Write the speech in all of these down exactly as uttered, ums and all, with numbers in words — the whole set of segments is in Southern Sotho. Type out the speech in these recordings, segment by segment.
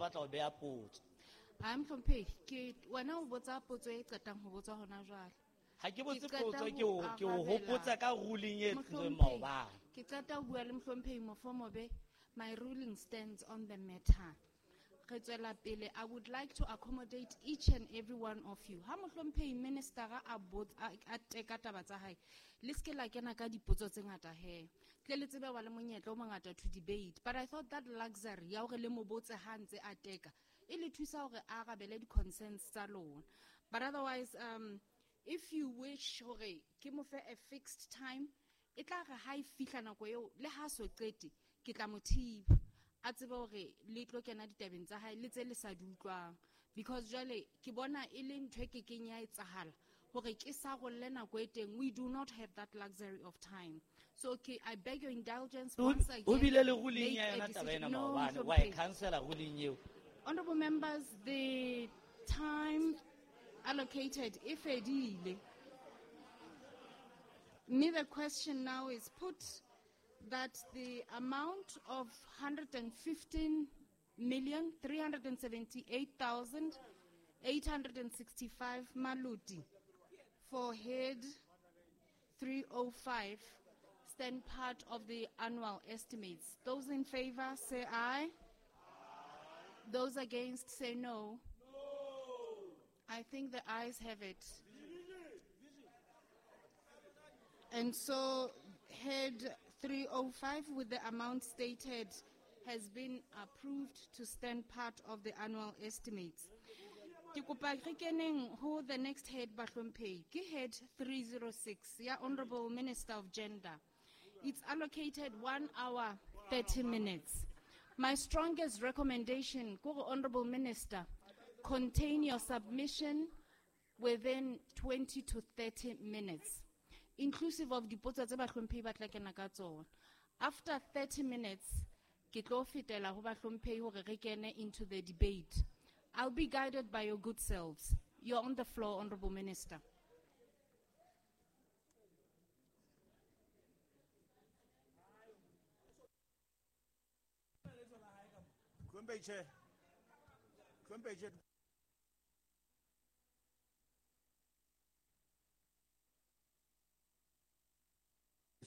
batla ho beha potso. Ha mohlomphehi, ke wena o botsa potso e qetang ho botswa hona jwale. Ha ke botse Ke qeta potso, ho ke o, ke o arabela. hopotsa ka ruling e tlotsweng Mohlomphehi, maobane. ke qeta ho bua le mohlomphehi Mofomobe, my ruling stands on the matter. Re tswela pele, I would like to accommodate each and every one of you. Ha mohlomphehi minister a botsa, a, a teka taba tsa hae, le se ke la kena ka dipotso tse ngata he. Tle le tsebe wa le monyetla o mongata to debate. But I thought that luxury ya hore le mo botse ha ntse a teka, e le thusa hore a arabele di-concerns tsa lona. But otherwise, um, if you wish hore ke mo fe a fixed time, e tla re ha e fihla nako eo, le ha so qete, ke tla mo thiba. A tsebe hore le tlo kena ditabeng tsa hae le tse le sa di utlwang. Because jwale ke bona e le ntho e kekeng ya etsahala hore ke sarolle nako e teng. We do not have that luxury of time. So ke, I beg your indulgence O once o again. bile le ruling Make ya a yona taba decision. ena No, maobane, wa e Mohlomphehi. cancela ruling eo. Honorable members, the time allocated e fedile. Mme the question now is put that the amount of hundred and fifteen million three hundred and seventy-eight thousand eight hundred and sixty-five maluti for head three oh five stand part of the annual estimates. Those in favor say aye. Those against say no. I think the ayes have it. And so head three oh five with the amount stated has been approved to stand part of the annual estimates. Ke kopa re keneng ho the next head bahlomphehi, ke head three zero six ya Honorable Minister of Gender. It's allocated one hour thirty minutes. My strongest recommendation, ko Honorable Minister, contain your submission within twenty to thirty minutes, inclusive of dipotso tse bahlomphehi ba tla kena ka tsona. After thirty minutes, ke tlo fetela ho bahlomphehi hore re kene into the debate. I'll be guided by your good selves. You're on the floor, Honorable Minister. Hlomphehi Chair. Hlomphehi Chair.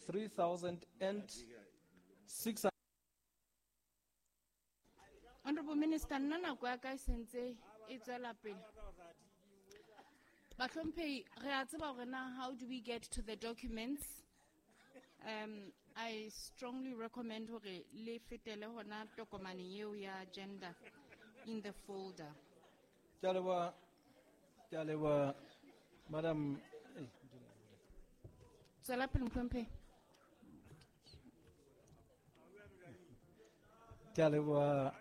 three thousand and six. Honorable Minister, nna nako ya ka e sentse e tswela pele. Bahlomphehi, re a tseba hore na how do we get to the documents? Um, I strongly recommend hore le fetele hona tokomaneng eo ya gender in the folder. Ke a leboha, ke a leboha, Madam. Tswela pele, Mohlomphehi. Ke a leboha,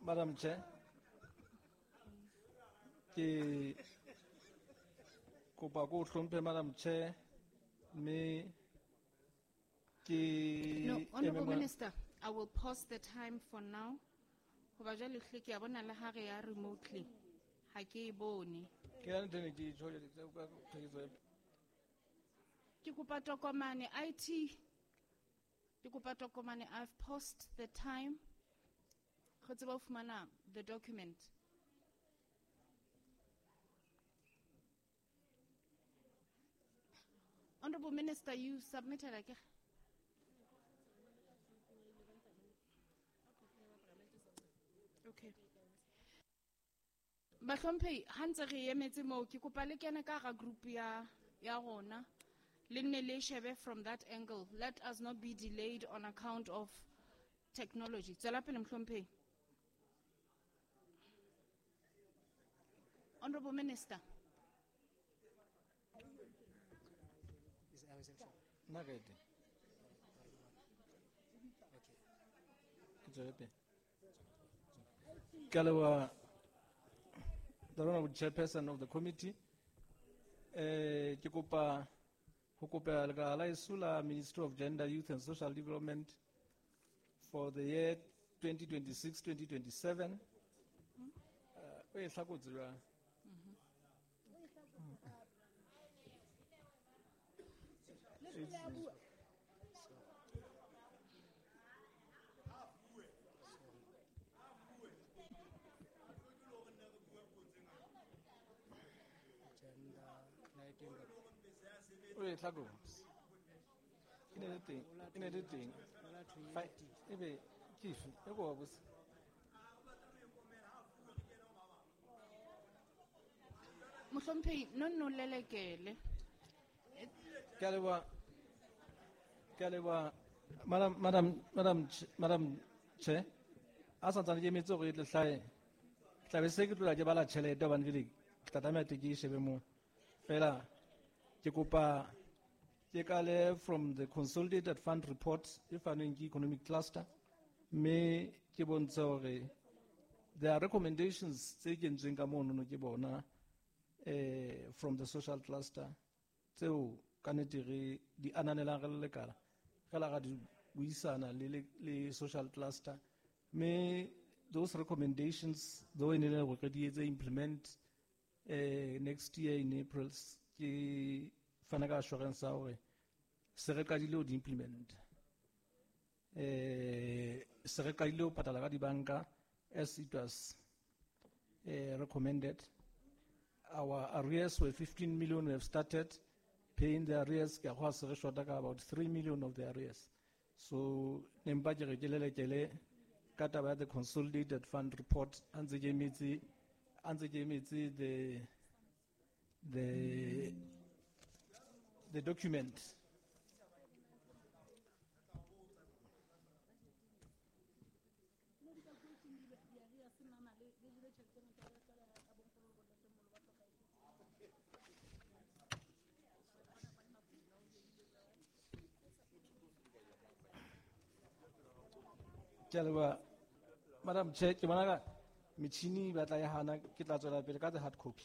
Madam Chair. Ke kopa ko hlomphe Madam Chair, mme ke No, Honorable eme mo- Minister, I will pause the time for now. Hoba jwale hle ke a bona le ha re ya remotely, ha ke e bone. Ke ya ntho e ne ke e tjho, ke tla utlwa tlhakiso ya Ke kopa tokomane I T. Ke kopa tokomane. I've paused the time. Re tsebe ho fumana the document. Honorable Minister, you submitted again. Okay. Bahlomphehi, ha ntse re emetse moo, ke kopa le kene ka hara group ya, ya rona. Le nne le shebe from that angle. Let us not be delayed on account of technology. Tswela pele, Mohlomphehi. Honorable Minister. Nna ka e teng. Ke tswele pele. Ke a leboha, the Honorable Chairperson of the committee. Eh, ke kopa ho kopa lekala la heso la Ministry of Gender, Youth and Social Development for the year twenty twenty-six twenty twenty-seven. Eh, o e hlakotse jwang? O e tlhako. E ne le teng, e ne le teng. Fa ebe ke efe? E ko wa botse. Mohlomphehi, no nno lelekele. Ke a leboha. Ke a leboha. Madam, Madam, Madam, Madam Chair, a santsane ke emetse hore e tle hlahe. Ke tla be se ke tlola ke bala tjhelete hobane jwale ke tla tlameha teng ke e shebe moo. Feela ke kopa ke kale from the consolidated fund report e fanweng ke economic cluster, mme ke bontshe hore there are recommendations tse kentsweng ka monono ke bona, eh, from the social cluster tseo ka nnete re di ananelang re le lekala, re la ra di buisana le, le, le social cluster, mme those recommendations though e ne le hore re di etse implement, eh, next year in April, ke fana ka assurance ya hore se re qadile ho di implement. Eh, se re qadile ho patala ka dibanka as it was, eh, recommended. Our arrears were fifteen million. We have started paying the arrears. Ke a kgolwa se re shota ka about three million of the arrears. So ne mpa ke re ke lelekele ka taba ya the consolidated fund report, a ntse ke emetse, a ntse ke emetse the, the, the document. Ke a leboha. Madam Chair, ke bona ka metjhini e batla e hana, ke tla tswela pele ka the hard copy.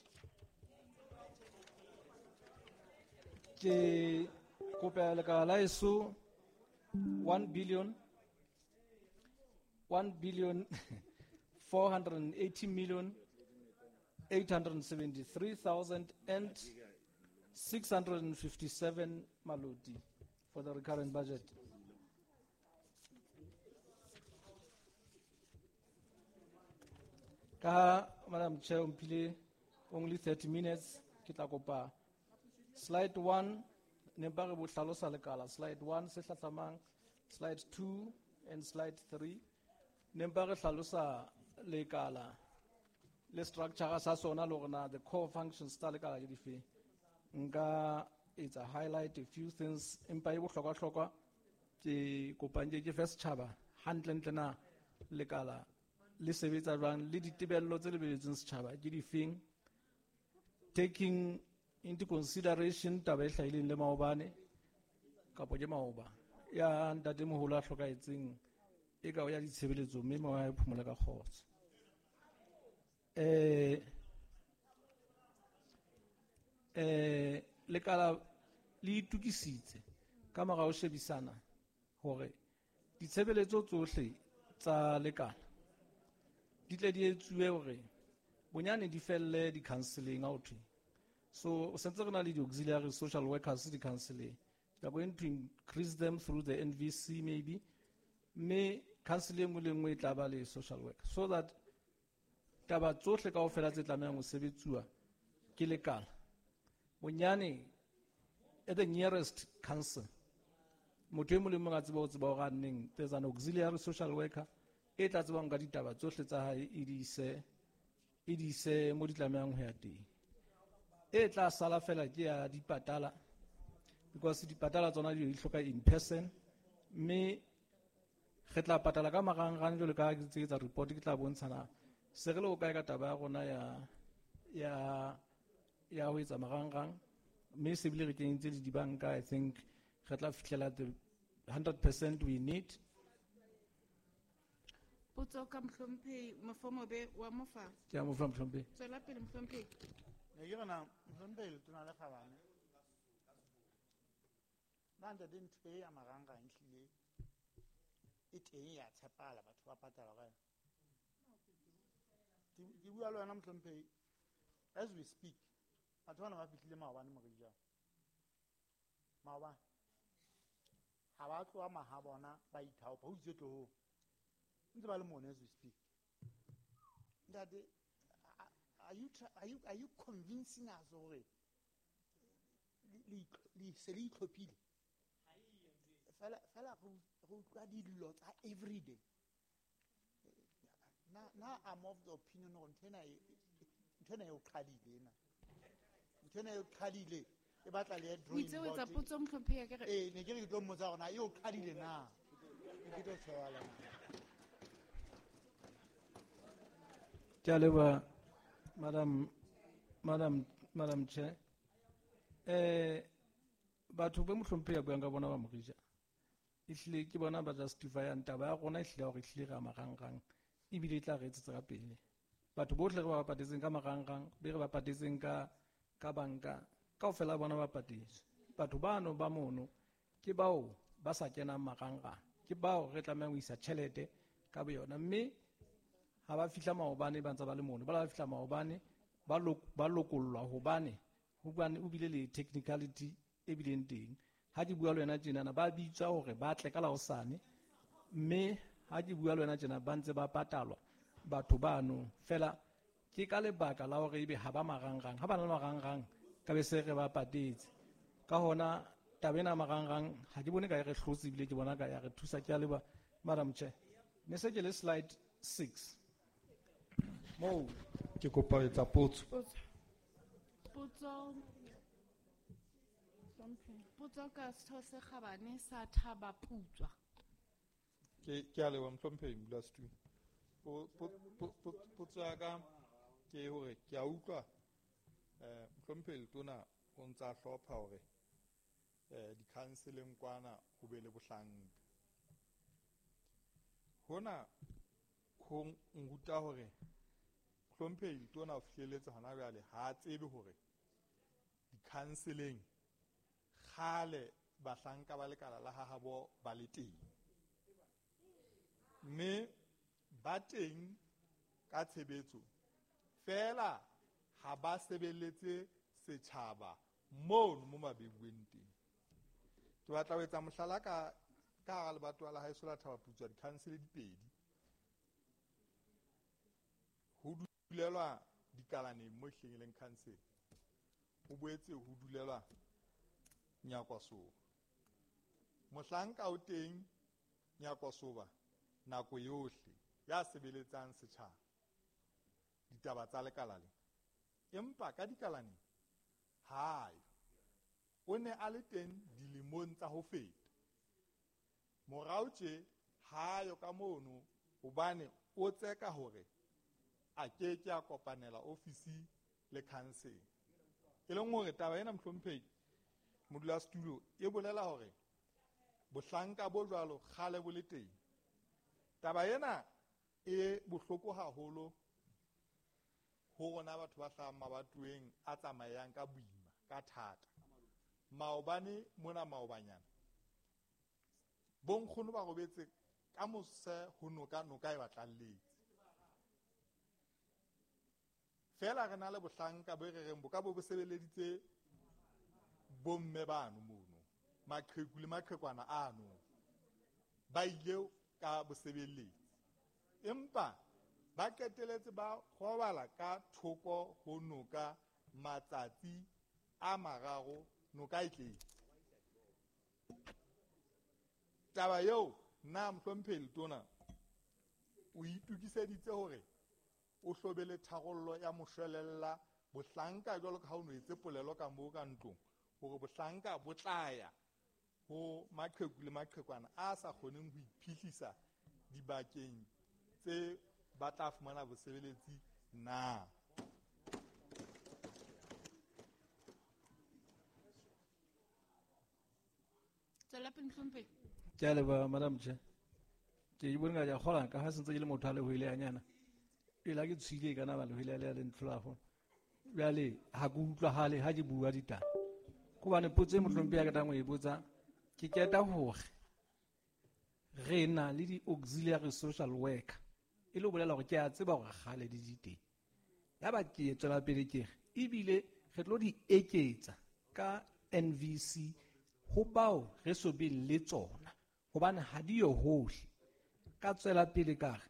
Ke kopa lekala la heso one billion, one billion four hundred and eighty million eight hundred and seventy-three thousand and six hundred and fifty-seven maloti for the recurrent budget. Ka Madam Chair, o mphile only thirty minutes, ke tla kopa slide one, ne ba re bo hlalosa lekala, slide one se hlahlamang, slide two and slide three, ne ba re hlalosa lekala le structure sa sona le hore na the core functions tsa lekala ke dife. Nka etsa highlight a few things, empa e bohlokwa-hlokwa ke kopang ke ke fe setjhaba hantlentle na lekala le sebetsa jwang le ditebello tse lebelletsweng setjhaba ke difeng, taking into consideration taba e hlahileng le maobane kapo ke maoba ya ntatemoholo a hlokahetseng e ka o ya ditshebeletso mme moya e phomole ka kgotso. Eh, eh, lekala le itukisitse ka mora ho shebisana hore ditshebeletso tsohle tsa lekala di tle di etsuwe hore bonyane di felle di-counseling ha ho thwe. So o sentse re na le di-auxiliary social workers di-counseling. We are going to increase them through the N V C maybe. Mme counseling e nngwe le nngwe e tla ba le social worker so that taba tsohle kaofela tse tlamehang ho sebetsuwa ke lekala bonyane at the nearest council motho e mong le mong a tseba ho tseba hore a neng there's an auxiliary social worker e tla tsebang ka ditaba tsohle tsa hae e di ise, e di ise mo di tlamehang ho ya teng. E tla sala fela ke ya dipatala because dipatala tsona di hloka in person, mme re tla patala ka marangrang jwalo ka ha ke ntse ke etsa report, ke tla bontshana se re le ho kae ka taba ya rona ya, ya, ya ho etsa marangrang, mme se bile re kenyeditse le dibanka. I think re tla fihlela the hundred percent we need. Potso ka mohlomphehi Mofomobe wa Mofa. Ke a mo fa mohlomphehi. Tswela pele mohlomphehi. Ne ke re na, mohlomphehi Letona le Kgabane. Na ntate ntho e ya marangrang ehlile e teng ya tshepahala, batho ba patala ka yona. Ke, ke bua le wena mohlomphehi, as we speak, batho bana ba fihlile maobane Morijane. Maobane. Ha ba tloha mahabona ba ithaopa, ho itswe tlohong. Ntse ba le mona as we speak. Ntate, are you, are you, are you convincing us hore le le se le itlhophile. Fela fela go go utlwa dillo tsa everyday. Na na I'm of the opinion hore ntho ena e ntho ena e o qadile ena. Ntho ena e o qadile e batla le O drawing itse o etsa board. potso mohlomphehi akere? Eh, ne ke re ke tlo mmotsa hore na e o qadile na. Ne ke tlo tshoala na. Ke a leboha, Madam, Madam, Madam Chair. Eh, batho ba mohlomphehi a buang ka bona ba Morija, ehlile ke bona ba justifyang taba ya rona, ehlile ya hore ehlile re a marangrang, ebile e tla re etsetsa ka pele. Batho bohle re ba patetseng ka marangrang, be re ba patetseng ka, ka banka, kaofela bona ba patetswe. Batho bano ba mono ke bao ba sa kenang marangrang, ke bao re tlamehang ho isa tjhelete ka boyona. Mme ha ba fihla maobane ba ntse ba le mono, ba la fihla maobane ba lok-, ba lokollwa hobane hobane o bile le technicality e bileng teng. Ha ke bua le wena tjenana ba bitswa hore ba tle ka la hosane, mme ha ke bua le wena tjena ba ntse ba patalwa batho bano. Fela ke ka lebaka la hore ebe ha ba marangrang, ha ba na le marangrang ka be se re ba patetse. Ka hona taba ena ya marangrang ha ke bone ka e re hlotse, ebile ke bona ka ya re thusa. Ke a leboha, Madam Chair. Ne se ke le slide six. Moo ke kopa ho etsa potso. Potso. Potso. Potso ka setho se kgabane sa Thaba Putswa. Ke, ke a leboha, mohlomphehi modulasetulo. Po-, po-, po-, po-, potso ya ka ke hore ke a utlwa, eh, mohlomphehi Letona o ntsa hlopha hore, eh, di-counseleng kwana ho be le bohlanka. Hona ho nruta hore mohlomphehi Letona o fihlelletse hona jwale ha a tsebe hore di-counseleng kgale bahlanka ba lekala la hahabo ba le teng. Mme ba teng ka tshebetso, fela ha ba sebeletse setjhaba mono mo mabebueng teng. Ke batla ho etsa mohlala ka, ka hara lebatowa la haeso la Thaba Putswa, di-council di pedi. Ho dulelwa dikalaneng mo ehlileng e leng council. Ho boetse ho dulelwa Nyakwasoba. Mohlanka o teng Nyakwasoba nako yohle ya sebeletsang setjhaba ditaba tsa lekala le. Empa ka dikalaneng hayo. O ne a le teng dilemong tsa ho feta. Morao tje hayo ka mono hobane o tseka hore a ke ke a kopanela ofisi le council. E leng hore taba ena mohlomphehi modulasetulo e bolela hore bohlanka bo jwalo kgale bo le teng. Taba ena e bohloko haholo ho rona batho ba hlahang mabatoweng a tsamayang ka boima, ka thata. Maobane mona maobanyana bonkgono ba robetse ka mose ho noka, noka e ba tlalletse. Fela re na le bohlanka bo re reng bo ka bo bo sebeleditse bomme bano mono, maqheku le maqhekwana ano, ba ile ka bosebeletsi. Empa ba qeteletse ba robala ka thoko ho noka matsatsi a mararo, noka e tletse. Taba eo nna mohlomphehi Letona o itokiseditse hore o hlobele tharollo ya moshwelella bohlanka jwalo ka ha o no etse polelo ka moo ka ntlong hore bohlanka bo tla ya ho maqheku le maqhekwana a sa kgoneng ho iphihlisa dibakeng tse ba tla fumana bosebeletsi na. Tswela pele, mohlomphehi. Ke a leboha, Madam Chair. Ke e bone ka ke a kgolwa ka ha se ntse ke le motho a lehwele hanyana. Pele ha ke tswile e ka na ba lehwele le a le ntlhola haholo. Jwale ha ke utlwahale ha ke bua ditaba. Hobane potso e mohlomphehi a ketang ho e botsa, ke qeta hore re na le di-auxiliary social worker. E le ho bolela hore ke a tseba hore kgale di di teng. Yaba ke tswela pele ke re, ebile re tlo di eketsa ka N V C ho bao re so beng le tsona, hobane ha di yo hohle. Ka tswela pele ka re,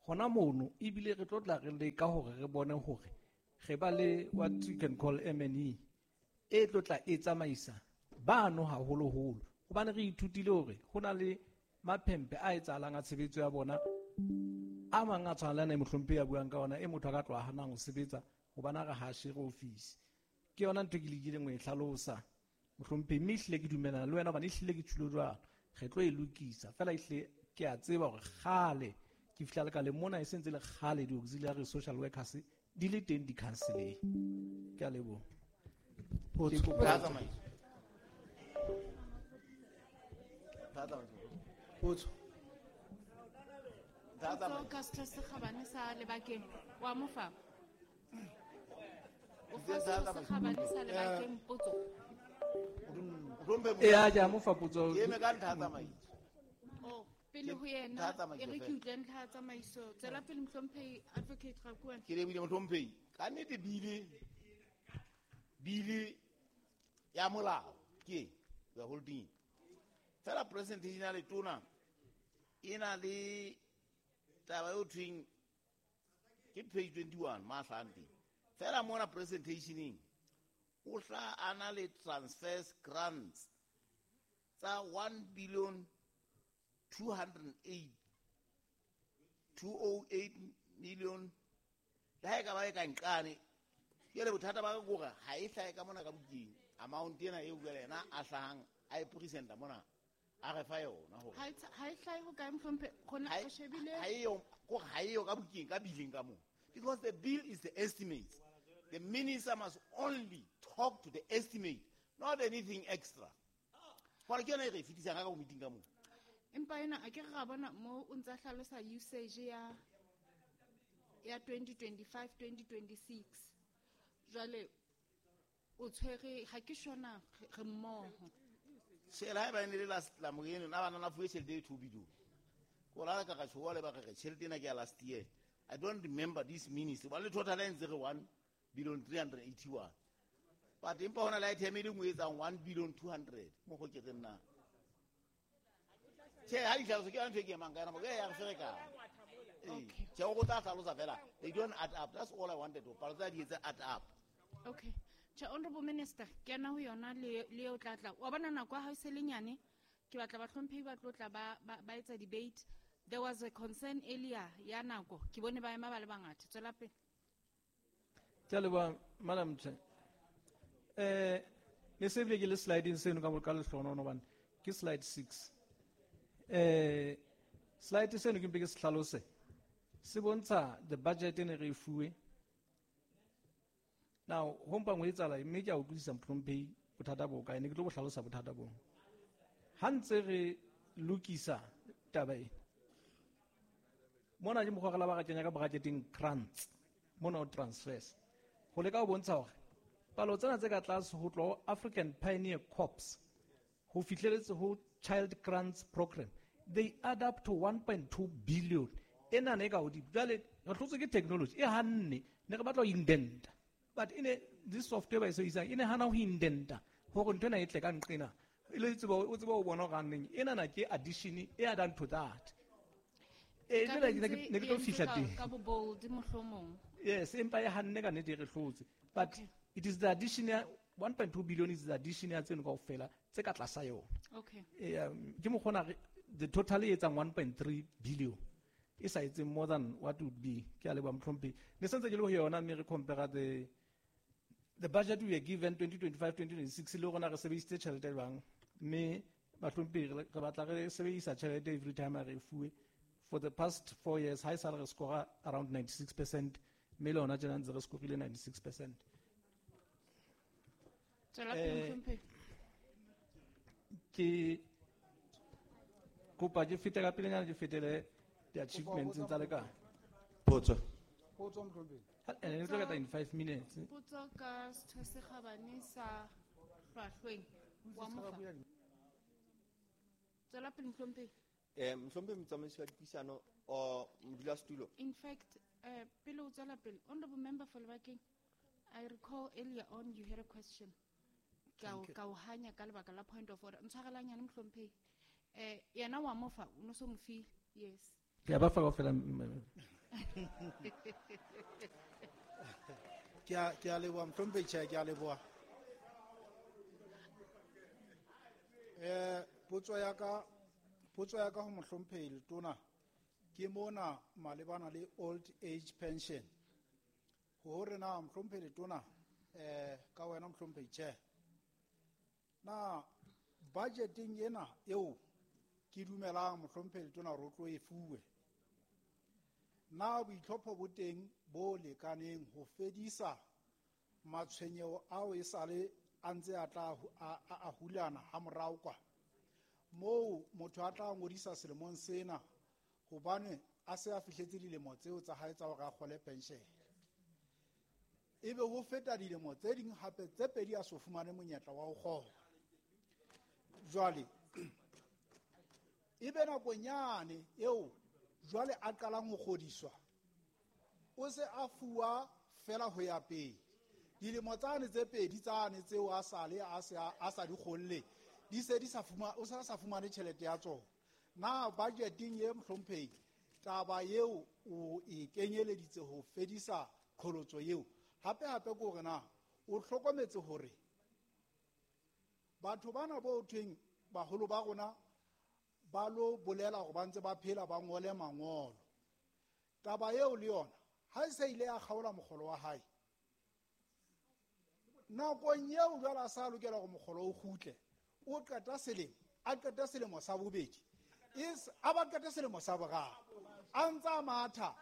hona mono ebile re tlo tla re leka hore re bone hore re ba le what you can call M N E e tlo tla e tsamaisa bano haholoholo hobane re ithutile hore ho na le maphempe a etsahalang a tshebetso ya bona a mang a tshwana le ana e mohlomphehi a buang ka ona e motho a ka tloha hanang ho sebetsa hobane a re ha shere office. Ke yona ntho e ke lekileng ho e hlalosa mohlomphehi, mme ehlile ke dumellana le wena hobane ehlile ke tjholo jwalo. Re tlo e lokisa fela, ehlile ke a tseba hore kgale ke fihla le ka le mona e sentse le kgale di-auxiliary social workers di le teng di-counseleng. Ke a leboha. Potso. Ke kopa- Potso. Potso ka setho se kgabane sa Lebakeng. Wa mo fa? O fa setho se kgabane sa Lebakeng potso. Ee, ke a mo fa potso. Ke eme ka ntlha ya tsamaiso. Oh, pele ho yena, Ntlha ya tsamaiso e re ke fela. utlwe ntlha ya tsamaiso. Tswela pele mohlomphehi Advocate Rakuane. Ke lebile mohlomphehi. Ka nnete bile, bile ya molao ke we are holding it. Fela presentation ya letona e na le taba eo thweng ke page twenty-one ma hlahang teng. Fela mona presentationeng o hla a na le transfers grants tsa one billion two hundred and eight, two oh eight million. Le ha e ka ba e ka nqane, jwale bothata ba ka ke hore ha e hlahe ka mona ka bukeng amount ena eo jwale yena a hlahang a e presenta mona a re fa yona hore Ha e tsha-, ha e hlahe ho kae mohlomphehi? Rona Ha e re shebile ha e yo, kore ha e yo ka bukeng, ka bileng ka moo. Because the bill is the estimate. The minister must only talk to the estimate, not anything extra. Hore ke yona e re e fetisang ka ka meeting ka moo. Empa ena a ke re ra bona mo o ntsa hlalosa usage ya, ya twenty twenty-five, twenty twenty-six. Jwale o tshwere, ha ke sure na re, re mmoho. Tjhe, le haeba e ne le last la moreno, na bana na fuwe tjhelete e two billion. Ko la ka ka tjho le ba re re tjhelete ena ke ya last year. I don't remember this minister. Ba le total e ntse re one billion three hundred eighty-one. But empa hona le item e le nngwe e etsang one billion two hundred. Mo go ke re nna. Tjhe, ha di hlaloso ke yona ntho e ke emang ka yona, e ya re ferekana. Ee. Okay. Tjhe, o tla hlalosa fela. They don't add up. That's all I wanted to. Palo tsa di etse add up. Okay. Tjhe, Honorable Minister, ke ena ho yona le, le eo tla tla. Wa bona nako ya hao e se le nyane, ke batla bahlomphehi ba tlo tla ba, ba, ba etsa debate. There was a concern earlier ya nako. Ke bone ba ema ba le bangata. Tswela pele. Ke a leboha, Madam Chair. Eh, ne se bile ke le sliding seno ka mo ka lehlohono hobane ke slide six. Eh, slide seno ke mpe ke se hlalose. Se bontsha the budget e ne re e fuwe. Now, ho mpa ho etsahala, mme ke a utlwisisa mohlomphehi bothata bo kae, ne ke tlo bo hlalosa bothata bo. Ha ntse re lokisa taba e, mona ke mokgwa re la ba ra kenya ka bracketeng grants, mona ho transfers. Ho leka ho bontsha hore palo tsena tse ka tlase ho tloha ho African Pioneer Corps ho fihleletse ho Child Grants Program, they add up to one point two billion. Ena ne ka hodimo. Jwale re hlotswe ke technology e hanne, ne re batla ho indenta. But ene this software ba e sebedisang e ne hana ho indenta hore ntho ena e tle ka nqena. E le tsebo, o tsebe ho bona hore haneng ena na ke addition e addang to that. Eh, Ka jwale ke ne ntse ke, ne ke tlo e fihla entswe ka- teng. ka bo bold mohlomong. Yes, empa e hanne ka nnete e re hlotse. But Okay. it is the addition ya one point two billion is the addition ya tseno kaofela tse ka tlasa yona. Okay. Eh, um, ke mokgwa ona re, the total e etsang one point three billion. E sa etseng more than what would be. Ke a leboha mohlomphehi. Ne sentse ke le ho yona mme re compare the, the budget we were given twenty twenty-five, twenty twenty-six le rona re sebedisitse tjhelete jwang. Mme bahlomphehi re, re batla re sebedisa tjhelete every time re e fuwe. For the past four years, ha esale re score around ninety-six percent, mme le hona tjena ntse re scorile ninety-six percent. Tswela pele, Eh, mohlomphehi. Ke kopa ke fete ka pelenyana, ke fetele di-achievements tsa lekala. Potso. Potso, mohlomphehi. Ha, eh, ne tlo qeta in five minutes. Potso ka setho se kgabane sa hlwahlweng wa mofa. Tswela pele, mohlomphehi. Eh, mohlomphehi motsamaisi wa dipuisano o modulasetulo. In fact, eh, pele o tswela pele, honorable member for Lebakeng, I recall earlier on you had a question. Ka o, ka o hanya ka lebaka la point of order. Ntshwarela nyane, mohlomphehi. Eh, yena wa mofa, o no so mo file. Yes. Ke a ba fa kaofela, m-, m-, Ke a, ke a leboha, mohlomphehi. Tjhe, ke a leboha. Eh potso ya ka potso ya ka ho mohlomphehi Letona ke mona malebana le old age pension. Hore na mohlomphehi Letona eh ka wena mohlomphehi Chair. Na budgeting ena eo ke dumelang mohlomphehi Letona hore o tlo e fuwe. Na boitlhopho bo teng bo lekaneng ho fedisa matshwenyeho ao e sale a ntse a tla hu-, a, a, a hulana ha morao kwa moo motho a tla ngodisa selemong sena hobane a se a fihletse dilemo tseo tsa hae tsa hore a kgole pension, ebe ho feta dilemo tse ding hape tse pedi a so fumane monyetla wa ho kgola. Jwale ebe nakonyane eo jwale a qalang ho kgodiswa o se a fuwa fela ho ya pele. Dilemo tsane tse pedi tsane tseo a sale a se a, a sa di kgolle, di se di sa fuma, o sa sa fumane tjhelete ya tsona. Na budgeting ye mohlomphehi taba eo o e kenyeleditse ho fedisa qholotso eo? Hape hape ke hore na o hlokometse hore batho bana bo thweng baholo ba rona ba lo bolela hore ba ntse ba phela ba ngole mangolo. Taba eo le yona ha e se ile ya kgaola mokgolo wa hae, nakong eo jwale a sa lokela hore mokgolo o kgutle, o qeta selemo, a qeta selemo sa bobedi, e s-, a ba qete selemo sa boraro, a ntsa a matha,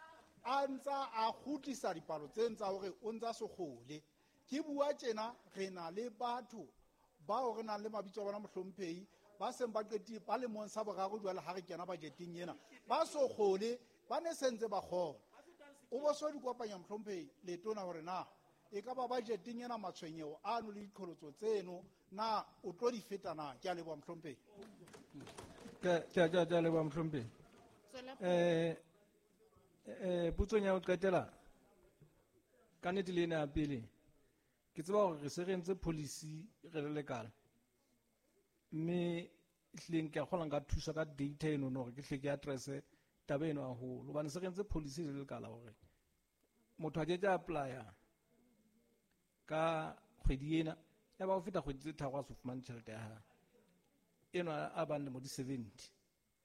a ntsa a kgutlisa dipalo tse ntsa hore o ntsa se kgole. Ke bua tjena re na le batho bao re nang le mabitso a bona mohlomphehi ba seng ba qetile ba lemong sa boraro jwale ha re kena budgeteng ena, ba so kgole, ba ne se ntse ba kgola. O bo so di kopanya mohlomphehi Letona hore na e ka ba budgeteng ena matshwenyeho ano le diqholotso tseno na o tlo di feta na? Ke a leboha mohlomphehi. Ke, ke, ke, ke a leboha mohlomphehi. Tswela pele. Eh, eh, potsong ya ho qetela, ka nnete le ena ya pele, ke tseba hore re se re entse policy re le lekala, mme ehlileng ke a kgolwa nka thusa ka data eno hore ke hle ke address-e taba eno haholo, hobane se re entse policy re le lekala hore motho a ke ke a apply-a ka kgwedi ena, ya ba ho feta kgwedi tse tharo a so fumane tjhelete ya hae. Eno a bang lemo di seventy.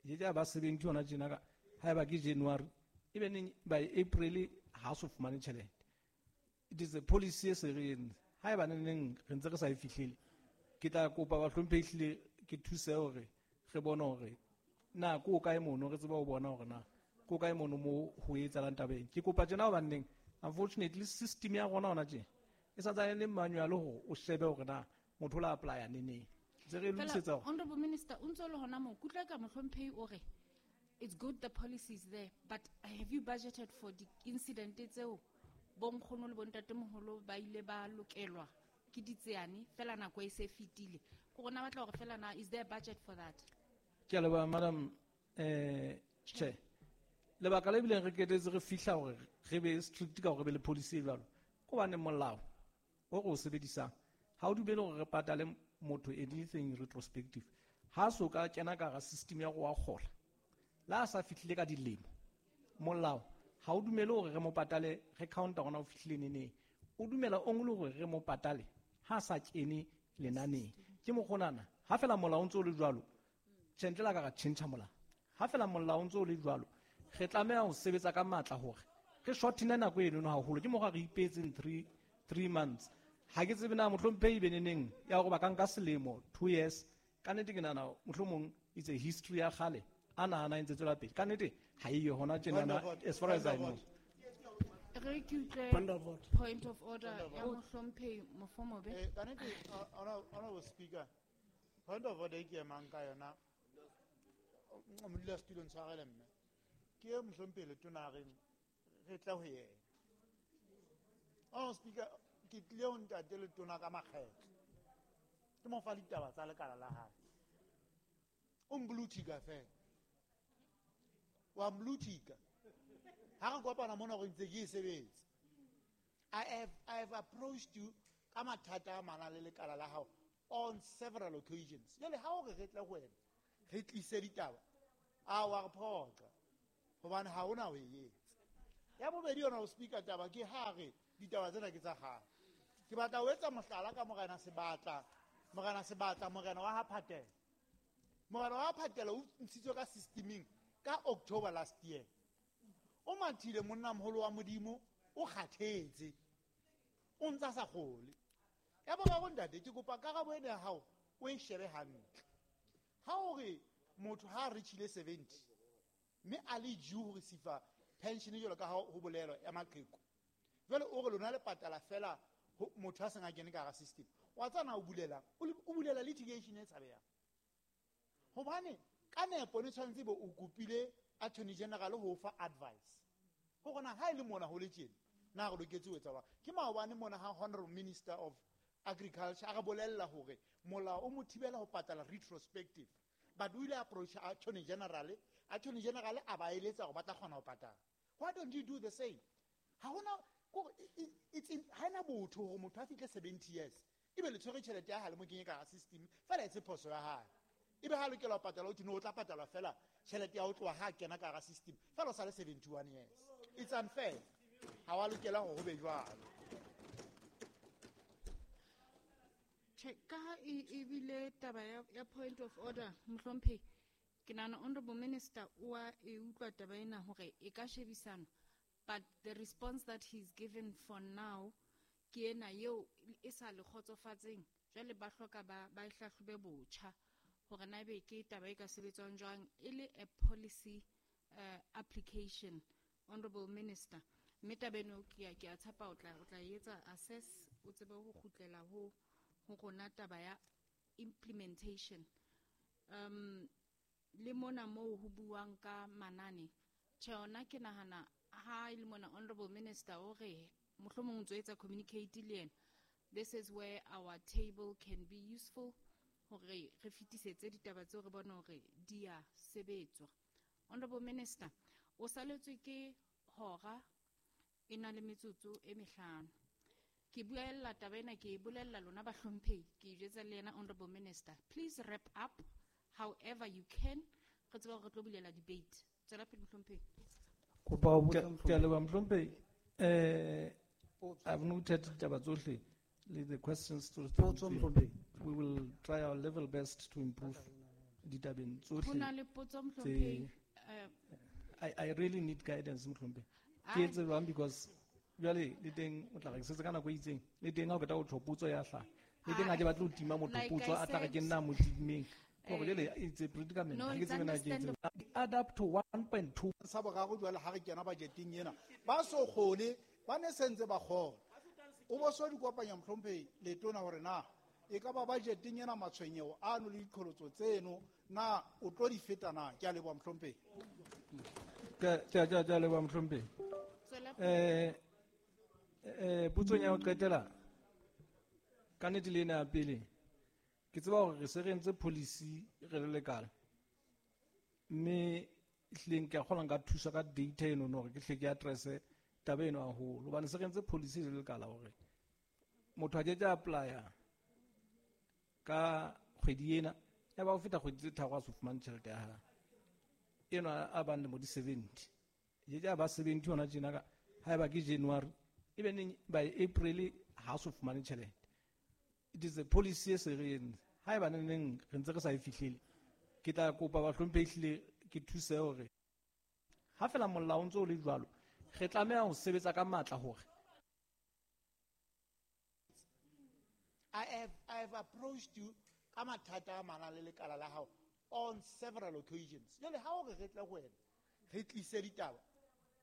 E ke a ba seventy hona tjena ka, haeba ke January, ebe neng by April ha so fumane tjhelete. It is a policy e se re entse. Haeba neng neng re ntse re sa e fihlele, ke tla kopa bahlomphehi ehlile ke thuse hore re bone hore na ko kae mono, re tsebe ho bona hore na ko kae mono mo ho etsahalang tabeng. Ke kopa tjena hobane neng, unfortunately system ya rona hona tje e sa ntsane e le manual hore o shebe hore na motho o la apply-a neneng. Ntse re Fela, lokisetsa hore Honorable Minister, o ntso le hona moo, ke utlwa ka mohlomphehi o re it's good the policy is there, but have you budgeted for the incident tseo bo nkgono le bontatemoholo ba ile ba lokelwa ke ditseane fela nako e se fetile? Ke rona batla hore fela na is there a budget for that? Ke a leboha, Madam, eh, Chair. Lebaka le bileng re qetetse re fihla hore re be strict ka hore re be le policy e jwalo, ke hobane molao o re o sebedisang ha o dumele hore re patale motho anything retrospective. Ha so ka kena ka hara system ya go wa kgola, la a sa fihlile ka dilemo, molao ha o dumele hore re mo patale, re counta hona o fihlile neneng. O dumela o nngwe le hore re mo patale ha sa kene lenaneng. Ke mokgonana, ha fela molao o ntse o le jwalo, tjhe, ntle la ka ra tjhentjha molao. Ha fela molao o ntse o le jwalo, re tlameha ho sebetsa ka matla hore re shortene nako eno haholo. Ke mokgwa re ipeetseng three, three months. Ha ke tsebe na mohlomphehi be neneng ya hore ba ka nka selemo, two years. Ka nnete ke nahana mohlomong it's a history ya kgale, a nahana e ntse tswela pele. Ka nnete ha eyo hona tjenana, Point of order. as far as I Point of know. order. Re ke utlwe Point of order. point of order Point of ya order. mohlomphehi Mofomobe. Eh, ka nnete, uh, Honorable Speaker, point of order e ke emang ka yona, modulasetulo ntshwarele mme, ke e mohlomphehi Letona a reng re tle ho yena. Honorable Speaker, ke tlile ho ntate Letona ka makgetlo, ke mo fa ditaba tsa lekala la hae. O mblutika fela, wa mblutika. Ha re kopana mona hore ntse ke e sebetsa. I have, I have approached you ka mathata a mana le lekala la hao on several occasions. Jwale ha o re re tle ho wena, re tlise ditaba, a wa re phoqa, hobane ha hona ho e etsa. Ya bobedi yona ho speaker taba ke ha re ditaba tsena ke tsa kgale. Ke batla ho etsa mohlala ka Morena Sebatla, Morena Sebatla, morena wa ha Phatela. Morena wa Phatela o ntshitswe ka systeming ka October last year. O mathile monna moholo wa Modimo o kgathetse. O ntsa sa kgole. Ya boraro ntate ke kopa karabo ena ya hao o e shebe hantle. Ha o re motho ha a reachile seventy mme a le due ho receive pension jwalo ka ha ho bolelwa ya maqheku. Jwale o re lona le patala fela motho a seng a kene ka hara system. Wa tsana o bulela, o bulela litigation e tshabehang. Hobane ka nepo ne tshwanetse be o kopile Attorney General ho fa advice. Hore na ha e le mona ho le tjena, na re loketse ho etsa jwang? Ke maobane mona ha Honorable Minister of Agriculture a re bolella hore molao o mo thibela ho patala retrospective. But o ile approach Attorney General, Attorney General a ba eletsa hore ba tla kgona ho patala. Why don't you do the same? Ha hona it's in ha ena botho hore motho a fihle seventy years. Ebe le tshwere tjhelete ya hae le mo kenye ka hara system, fela e se phoso ya hae. Ebe ha lokela ho patala o thwe no o tla patalwa fela tjhelete ya ho tloha ha kena ka hara system, fela o sa le seventy-one years. It's unfair. Ha wa lokela hore ho be jwalo. Che, ka ha e ebile taba ya, ya point of order, mohlomphehi, ke nahana Honorable Minister o a e utlwa taba ena hore e ka shebisanwa, but the response that he's given for now ke ena eo e sa le kgotsofatseng. Jwale ba hloka ba, ba e hlahlobe botjha hore na ebe ke taba e ka sebetswang jwang e le a policy, uh, application, Honorable Minister. Mme taba eno ke a, ke a tshepa o tla, o tla etsa assess, o tsebe ho kgutlela ho, ho rona taba ya implementation. Um, le mona moo ho buang ka manane, tjhe, ona ke nahana ha e le mona Honorable Minister o re mohlomong o ntso etsa communicate le yena. This is where our table can be useful hore re fetisetse ditaba tseo re bone hore di a sebetswa. Honorable Minister, o saletswe ke hora e na le metsotso e mehlano. Ke buella taba ena, ke e bolella lona bahlomphehi, ke e jwetsa le yena Honorable Minister. Please wrap up however you can. Re tsebe hore re tlo bulela debate. Tswela pele mohlomphehi. Kopa ho Ke botsa ke a mohlomphehi. leboha mohlomphehi. Eh, I've noted ditaba tsohle le the questions to Potso, mohlomphehi. We will try our level best to improve ditabeng Ho tsohle na le potso, mohlomphehi. tse Eh, I, I really need guidance, mohlomphehi. Ke Ai. etse jwang because jwale le teng o tla re ke setse ka nako e itseng, le teng ha o qeta ho tjho potso ya hlaha. Le teng ha ke batle ho tima motho Like potso, I a tla re ke said, nna mo timmeng. Hore eh, jwale it's a predicament. No, Ha ke it's tsebe na ke etse understandable. jwang. Add up to one point two. Sa boraro jwale ha re kena budgeteng ena, ba so kgone, ba ne sentse ba kgona. O bo so di kopanya mohlomphehi letona hore na e ka ba budgeteng ena matshwenyeho ano le diqholotso tseno na o tlo di feta na? Ke a leboha mohlomphehi. Ke, ke, ke, ke a leboha mohlomphehi. Tswela pele. Eh, eh, potsong ya ho qetela, ka nnete le ena ya pele, ke tseba hore re se re entse policy re le lekala. Mme ehlileng ke a kgolwa nka thusa ka data eno hore ke hle ke address-e taba eno haholo. Hobane se re entse policy re le lekala hore motho a ke ke a apply-a ka kgwedi ena, ya ba ho feta kgwedi tse tharo a so fumane tjhelete ya hae. Eno a bang lemo di seventy. E ke a ba seventy hona tjena ka, haeba ke January, ebe neng by April ha so fumane tjhelete. It is a policy e se re entse. Haeba neng neng re ntse re sa e fihlele, ke tla kopa bahlomphehi ehlile ke thuse hore ha fela molao o ntso o le jwalo, re tlameha ho sebetsa ka matla hore I have, I have approached you ka mathata a manang le lekala la hao on several occasions. Jwale ha o re re tle ho wena, re tlise ditaba,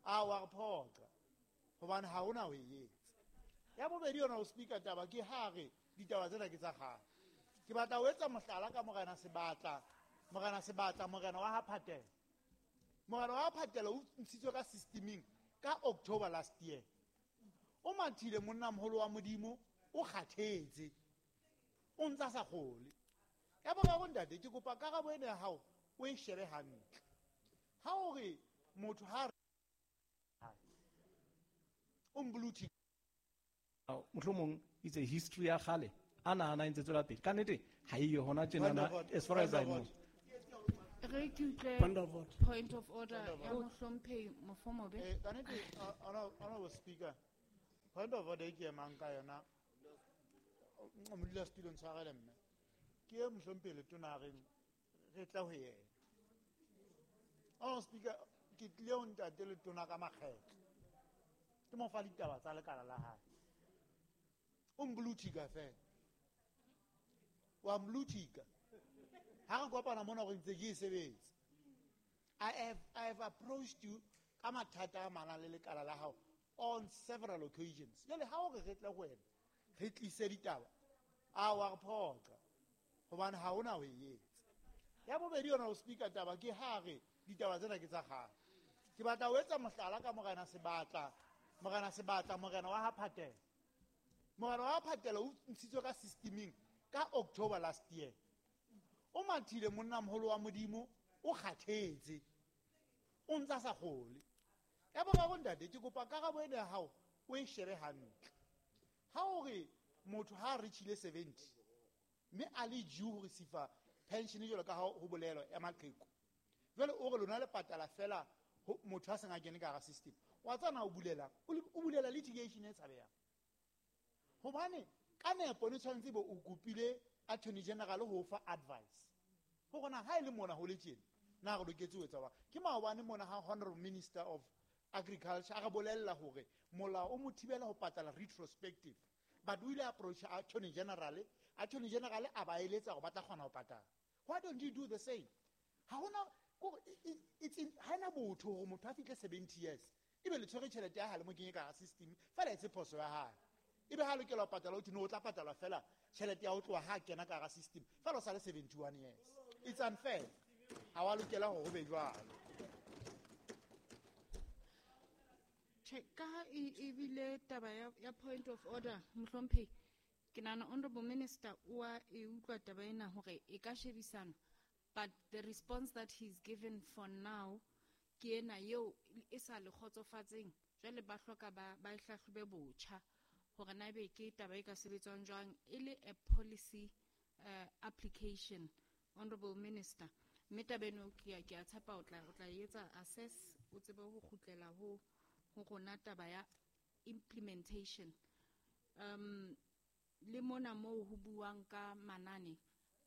a wa re phoqa, hobane ha hona ho e etsa. Ya bobedi yona ho speaker taba ke ha re ditaba tsena ke tsa kgale. Ke batla ho etsa mohlala ka Morena Sebatla, Morena Sebatla, Morena wa ha Phatela. Morena wa ha Phatela o ntshitswe ka systeming ka October last year. O mathile monna moholo wa Modimo, o kgathetse. O ntsa sa kgole. Ya boraro ntate, ke kopa karabo ena ya hao o e shebe hantle. Ha o re motho ha o mbluthi. Mohlomong it's a history ya kgale a nahana e ntse tswela pele. Ka nnete ha e yo hona tjenana, Point of order. as far as I Point of know. order. Re ke utlwe Point of order. point of order ya mohlomphehi Mofomobe. Eh, ka nnete, Honorable Speaker, point of order e ke emang ka yona, modulasetulo ntshwarele mme. Ke e mohlomphehi letona a reng re tle ho yena. Honorable Speaker, ke tlile ho ntate Letona ka makgetlo. Ke mo fa ditaba tsa lekala la hae. O mblutika fela. Wa mblutika. Ha re kopana mona gore ntse ke e sebetsa. I have, I have approached you ka mathata a manang le lekala la hao on several occasions. Jwale ha o re re tle ho wena, re tlise ditaba, a wa re phoqa, hobane ha hona ho e etsa. Ya bobedi yona ho speaker taba ke ha re ditaba tsena ke tsa kgale. Ke batla ho etsa mohlala ka Morena Sebatla, Morena Sebatla, Morena wa ha Phatela. Morena wa ha Phatela o ntshitswe ka systeming ka October last year. O mathile monna moholo wa Modimo, o kgathetse. O ntsa sa kgole. Ya boraro ntate, ke kopa karabo ena ya hao o e shebe hantle. Ha o re motho ha a reachile seventy, mme a le due ho receive pension jwalo ka ha ho bolelwa ya maqheku. Jwale o re lona le patala fela ho motho a seng a kene ka hara system. Wa tseba na o bulela, o le, o bulela litigation e tshabehang. Hobane ka nepo ne tshwanetse be o kopile Attorney General ho fa advice. Hore na ha e le mona ho le tjena, na re loketse ho etsa jwang? Ke maobane mona ha Honorable Minister of Agriculture a re bolella hore molao o mo thibela ho patala retrospective. But o ile approach Attorney General, Attorney General a ba eletsa hore ba tla kgona ho patala. Why don't you do the same? Ha hona, ko, it's in, ha ena botho hore motho a fihle seventy years. Ebe le tshwere tjhelete ya hae le mo kenye ka hara system, fela e se phoso ya hae. Ebe ha lokela ho patala, o thwe no, o tla patala fela tjhelete ya ho tloha ha kena ka hara system, fela o sa le seventy-one years. It's unfair. Ha wa lokela hore ho be jwalo. Che, ka ha e, e bile taba ya, ya point of order, mohlomphehi, ke nahana Honorable Minister o a e utlwa taba ena hore e ka shebisana, but the response that he's given for now ke ena eo e sa le kgotsofatseng. Jwale ba hloka ba, ba e hlahlobe botjha hore na ebe ke taba e ka sebetswang jwang e le a policy, uh, application, Honorable Minister. Mme taba eno ke a, ke a tshepa o tla, o tla e etsa assess, o tsebe ho kgutlela ho, ho rona taba ya implementation. Um, le mona moo ho buang ka manane,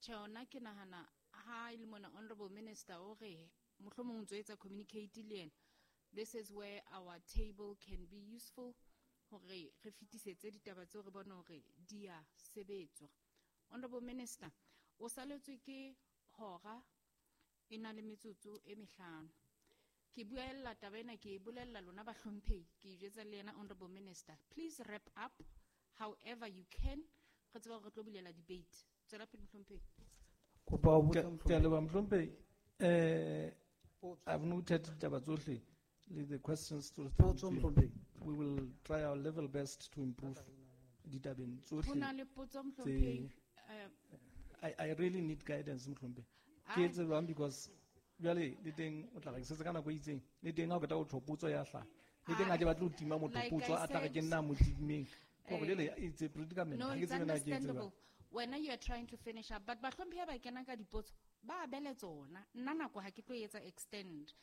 tjhe, hona ke nahana ha e le mona Honorable Minister o re mohlomong o ntso etsa communicate le yena. This is where our table can be useful hore re fetisetse ditaba tseo re bone hore di a sebetswa. Honorable Minister, o saletswe ke hora e na le metsotso e mehlano. Ke buella taba ena, ke e bolella lona bahlomphehi, ke e jwetsa le yena Honorable Minister. Please wrap up however you can. Re tseba hore re tlo bulela debate. Tswela pele mohlomphehi. Kopa ho Ke botsa ke a mohlomphehi. leboha mohlomphehi. Eh, Potso. I've noted ditaba tsohle le the questions to Potso, mohlomphehi. We will try our level best to improve ditabeng Ho na tsohle le potso, tse mohlomphehi. Eh, I, I really need guidance, mohlomphehi. Ke Ai. etse jwang because jwale le teng o tla re ke setse ka nako e itseng, le teng ha o qeta ho tjho potso ya hlaha. Le teng ha ke batle ho tima motho Like potso, I a tla re ke said, nna mo timeng. Hore eh, jwale it's a predicament. No, Ha ke it's tsebe na ke etse jwang. understandable. Wena you are trying to finish up, but bahlomphehi ha ba kena ka dipotso, ba abele tsona. Nna nako ha ke tlo etsa extend.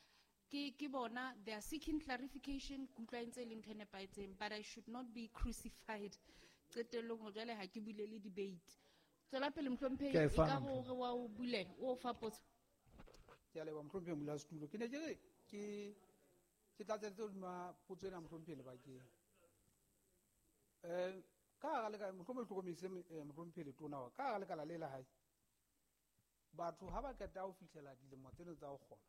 Ke, ke bona, they are seeking clarification, ke utlwa e ntse e le ntho e nepahetseng, but I should not be crucified. Qetellong hore jwale ha ke bulele debate. Tswela pele mohlomphehi, Ke a e e fana, ka re o re wa o bulela, o o fa potso. Ke a leboha mohlomphehi modulasetulo. Ke ne ke re ke, ke tlatsetse hodima potso ena mohlomphehi lebakeng. Eh, ka hara leka, mohlomong hlokomedise, eh, mohlomphehi Letona wa, ka hara lekala le la hae, batho ha ba qeta ho fihlela dilemo tseno tsa ho kgola,